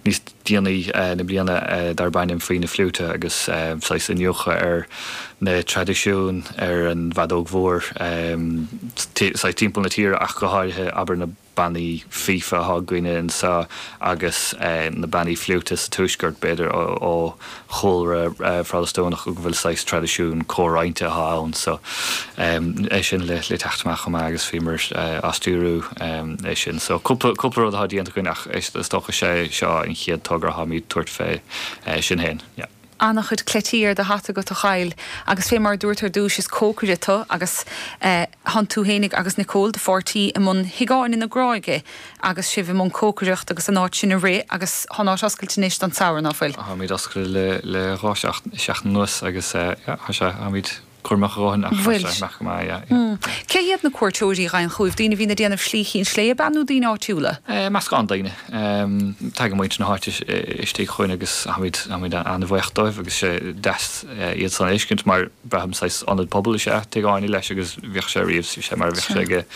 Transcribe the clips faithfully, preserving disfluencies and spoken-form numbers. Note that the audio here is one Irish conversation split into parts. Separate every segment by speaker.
Speaker 1: Níos déanaí na bliana darb ainm Faoi na Fliúite agus saghas iniúchadh ar na traidisiúin ar an bhfeadóg mhór saghas timpeall na tíre ach go háirithe abair na bannaí fífe atá againne anseo agus na bannaí fliúite sa tuaisceart b'fhéidir ó chúlra Phrotastúnach go bhfuil saghas traidisiún comhroinnte atá ann so é sin le le teacht amach chomh maith agus bhíomar á stiúrú é sin. So cúpla cúpla rud atá déanta againn ach is dócha sé seo an chéad togra atáimid tabhairt fé sin féin. Yeah.
Speaker 2: An-chuid cleití ar do hata agat a Kyle agus fé mar a dúirt ar dtús is cócaire tú agus thánn tú fhéinig agus Nicole do pháirtí i mbun Thigh Áine na Gráige agus sibh i mbun cócaireacht agus an áit sin a rith agus thá an áit oscailte anois don samhradh ná fuil?
Speaker 1: Táimid oscailte le le dhá seachtain anuas agus yeah tá sé táimid cúramach a dhóthain ach tá sé amach go maith yeah yeah.
Speaker 2: Cé hiad na cuairteoirí a ghabhann chugaibh? Daoine a bhíonn ag déanamh Slí Chinn Sléibhe ab ea nó daoine áitiúla?
Speaker 1: Meascán daoine. Tagann muintir na háite istigh chugainn agus táimid táimid an-bhuíoch dóibh agus sé deas iad san a fheiscint mar braithim saghas ionad pobail is ea Tigh Áine leis agus bhíodh sé riamh sé mar a bheadh sé ag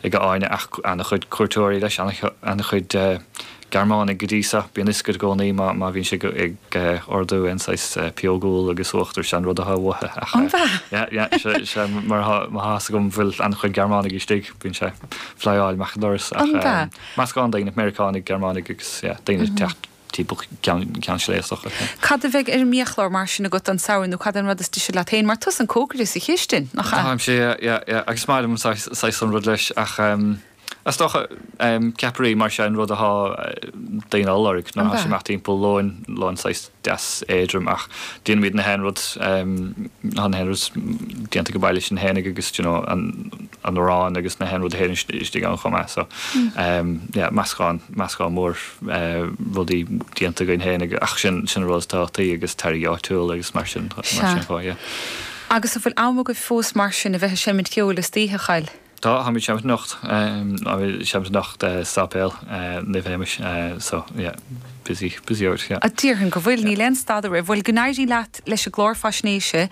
Speaker 1: ag Áine ach an-chuid cuairteoirí leis an-chuid Gearmánaigh go dtí seo. Bíonn fhios agat i gcónaí má má bhíonn sé ag ordú aon saghas pióg úll agus uachtar, sé an rud atá uathu ach
Speaker 2: An bhea?
Speaker 1: yeah yeah sé sé mar atá má tá fhios agam bhfuil an-chuid Gearmánaigh istigh, bíonn sé flyáil amach an doras ach
Speaker 2: An bhea?
Speaker 1: meascán daoine, Meiriceánaigh, Gearmánaigh agus yeah daoine ag teacht timpeall Ceann Ceann Sléibhe is dócha.
Speaker 2: Cad a bheidh ar an mbiachlár mar sin agat don samhradh nó cad é an rud is deise leat féin mar tusa an cócaire sa chistin, nach ea?
Speaker 1: Táimse yeah yeah yeah agus is maith liom an saghas saghas an rud leis ach Is dócha, ceapairí mar sin rud atá daoine á lorg nuair atá sé amach timpeall lóin, lón saghas deas éadrom ach déanaimid na haon rud, tá na haon rud déanta go baile sin fhéinig agus you know an an arán agus na haon rud a théann istigh ann chomh maith so yeah meascán, meascán mór rudaí déanta againn fhéinig ach sin sin an rud is tábhachtaí agus táirgí áitiúla agus mar sin mar sin chomh yeah.
Speaker 2: Agus an bhfuil am agaibh fós mar sin a bheith ag seimint ceoil istoíche, a Kyle?
Speaker 1: Tá, táimid seimint anocht, táimid seimint anocht sa Sáipéal Naomh Shéamais so yeah busy, busy out yeah.
Speaker 2: Déarfainn go bhfuil, níl aon stad oraibh. Bhuel, go n-éirí leat leis an gclár faisnéise,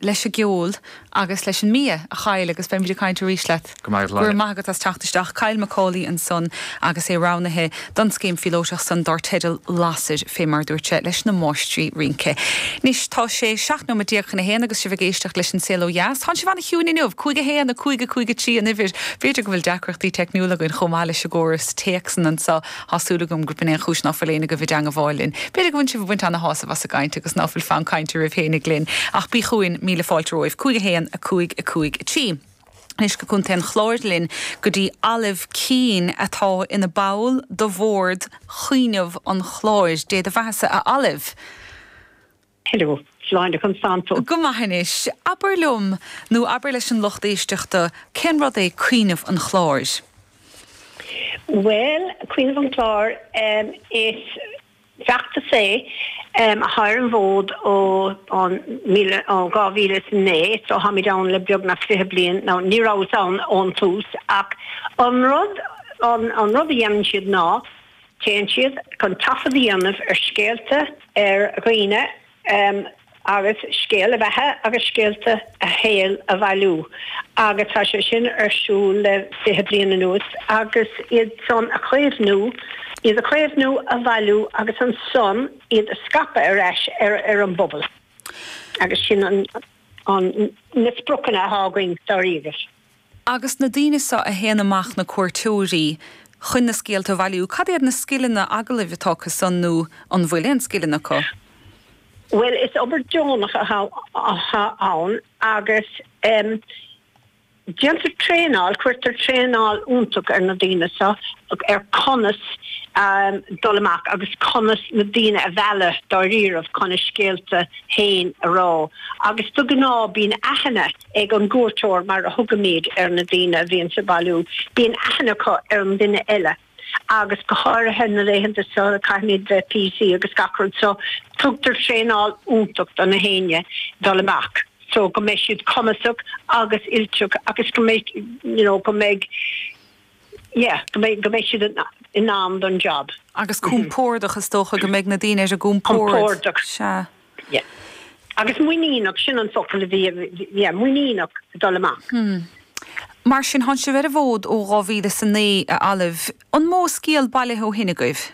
Speaker 2: leis an gceol agus leis an mbia, a Kyle, agus beimid ag caint arís leat.
Speaker 1: Go raibh maith agat,
Speaker 2: Go raibh maith agat as teacht isteach. Kyle McCauley ansan agus é roghnaithe don scéim phíolótach san dár teideal Lasair, fé mar a dúirt sé, leis na máistrí rince. Anois tá sé seacht nóiméad déag chun a haon agus sibh ag éisteacht leis An Saol Ó Dheas. Tánn sibh ana-chiúin inniu, cúig a haon, a cúig, a cúig a trí an uimhir. B'fhéidir go bhfuil deacrachtaí teicniúla againn chomh maith leis an gcóras téacsanna anseo. Tá súil agam gurb in é an chúis ná fuil éinne agaibh i dteangabháil linn. B'fhéidir go bhfuil sibh ag baint ana-shásamh as an gcaint agus ná fuil fonn cainte oraibh fhéinig linn. Ach bí chugainn, míle fáilte romhaibh. Cúig a haon, a cúig, a cúig a trí. Anois go Contae an Chláir linn go dtí Olive Keane atá ina ball de bhord Chuimhneamh an Chláir. Dé do bheathasa a Olive.
Speaker 3: Hello, Sláinte conas tánn tú.
Speaker 2: Go maith anois. Abair liom, nó abair leis an lucht éisteachta, cén rud é Cuimhneamh an Chláir?
Speaker 3: Bhuel, Cuimhneamh an Chláir, is feachtas é atá ar an bhfód ó ó dhá mhíle is a naoi, so táimid ann le beagnach fiche bliain, now ní rabhas ann ón tús ach an rud an rud a dhéanann siad ná téann siad chun taifead a dhéanamh ar scéalta ar dhaoine agus scéal a bheatha agus scéalta a shaoil a bhailiú agus tá sé sin ar siúl le fiche bliain anuas agus iad san a chaomhnú, iad a chaomhnú, a bhailiú agus ansan iad a scaipeadh ar ais ar ar an bpobal agus sin an an na spriocanna atá againn dáiríre.
Speaker 2: Agus na daoine seo a théann amach, na cuairteoirí, chun na scéalta a bhailiú, cad iad na scileanna agallaimh atá acu san nó an bhfuil aon scileanna acu?
Speaker 3: Bhuel, is obair deonach atá ann agus déantar traenáil, cuirtear traenáil iontach ar na daoine seo ar conas dul amach agus conas na daoine a mhealladh dáiríribh chun a scéalta féin a rá. Agus de ghnáth bíonn aithne ag an gcuairteoir, mar a thugaimid ar na daoine a bhíonns ag bailiú, bíonn aithne acu ar an duine eile agus go háirithe na laethanta seo caithfimid bheith PC agus gach rud so tugtar traenáil iontach do na héinne dul amach so go mbeidh siad cumasach agus oilte agus go mbeidh you know go mbeidh yeah go mbeidh go mbeidh siad in ann don job.
Speaker 2: Agus compordach is dócha go mbeidh na daoine ar a gcompord.
Speaker 3: Compordach.
Speaker 2: Sea.
Speaker 3: Yeah. Agus muiníneach, sin an focal a bhí, yeah, muiníneach dul amach.
Speaker 2: Hmm. Mar sin, tánn sibh ar an bhfód ó dhá mhíle is a naoi, a Olive. An mó scéal bailithe ó shin agaibh?